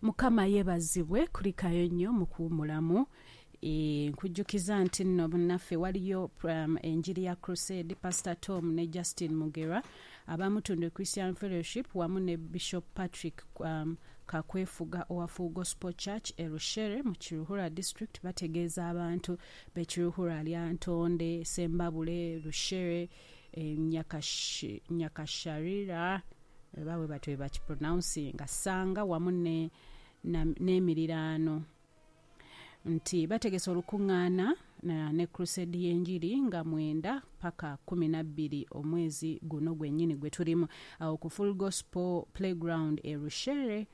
Mukama yeebazibwe, kulikayo nnyo mu kuwummulamu. Nkujjukiza nti nno munnaffe waliyo enjiri ya Crusade, Pastor Tom ne Justin Mugerwa aba Mutundwe Christian Fellowship wamu ne Bishop Patrick Kakwefuga owa Full Gospel Church e Rushere mu Kiruhura District bategeeza abantu b'e Kiruhura, Lyantonde, Sembabule, Rushere, Nyakasharira oba bwebatyo bwebakipronouncinga, Ssanga wamu n'emiriraano nti bategese olukungaana ne Crusade y'enjiri nga mwenda paka 12 omwezi guno gwenyini gwetulimu awo ku Full Gospel Playground e Rushere,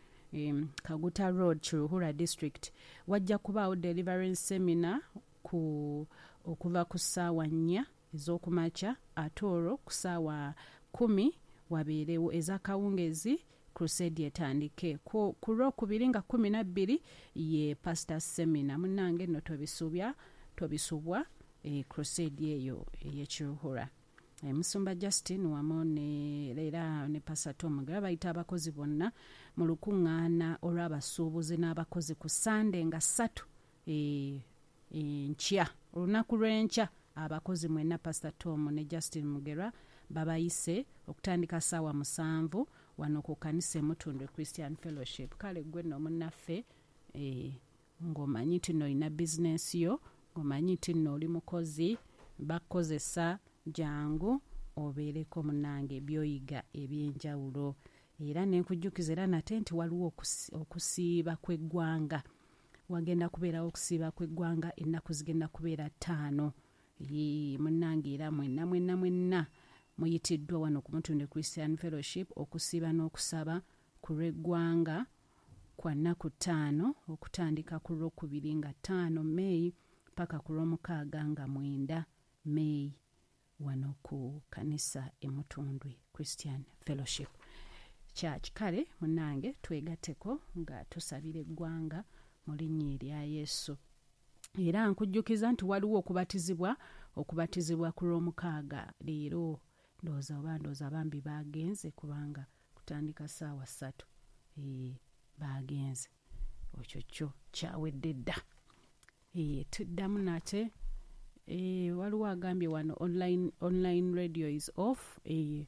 Kaguta Road, Kiruhura District. Wajja kubaawo Deliverance Seminar ku okuva ku saawa nnya ez'okumakya ate olwo ku saawa kumi wabeerewo ez'akawungeezi Crusade etandike. Ku lwokubiri nga 12 ye Pastor Seminar. Munnange nno tobisubya, tobisubwa Crusade eyo ey'e Kiruhura. Musumba Justin wamu ne era ne Pastor Tom Mugerwa bayita abakozi bonna mu lukungaana olw'abasuubuzi n'abakozi ku Ssande nga ssatu enkya, olunaku lw'enkya. Abakozi mwenna Pastor Tom ne Justin Mugerwa babayise okutandika saawa 7 wano ku kanisa e Mutundwe Christian Fellowship. Kale ggwe nno munnaffe ng'omanyi nti nno olina bizinensi yo, ng'omanyi nti nno oli mukozi bakukozesa, jangu obeereko munnange by'oyiga eby'enjawulo. Era ne nkujjukiza era nate nti waliwo okusiiba kw'eggwanga. Wagenda kubeerawo okusiiba kw'eggwanga ennaku zigenda kubeera ttaano. Yii munnange era mwenna mwenna mwenna muyitiddwa wano ku Mutundwe Christian Fellowship okusiiba n'okusaba ku lw'eggwanga kwa nnaku ttaano okutandika ku Lwokubiri nga ttaano May paka ku Lwomukaaga nga 9 May wano ku kanisa e Mutundwe Christian Fellowship Church. Kale munnange twegatteko nga tusabira eggwanga mu linnya erya Yesu. Era nkujjukiza nti waliwo okubatizibwa, okubatizibwa ku Lwomukaaga leero. Ndowooza oba ndowooza bambi baagenze kubanga kutandika ssaawa ssatu. Eeh, baagenze. Ekyo kyo kyawedde dda. Eeh, tuddamu nate. Eeh, waliwo agambye wano online, online radio is off. Eeh,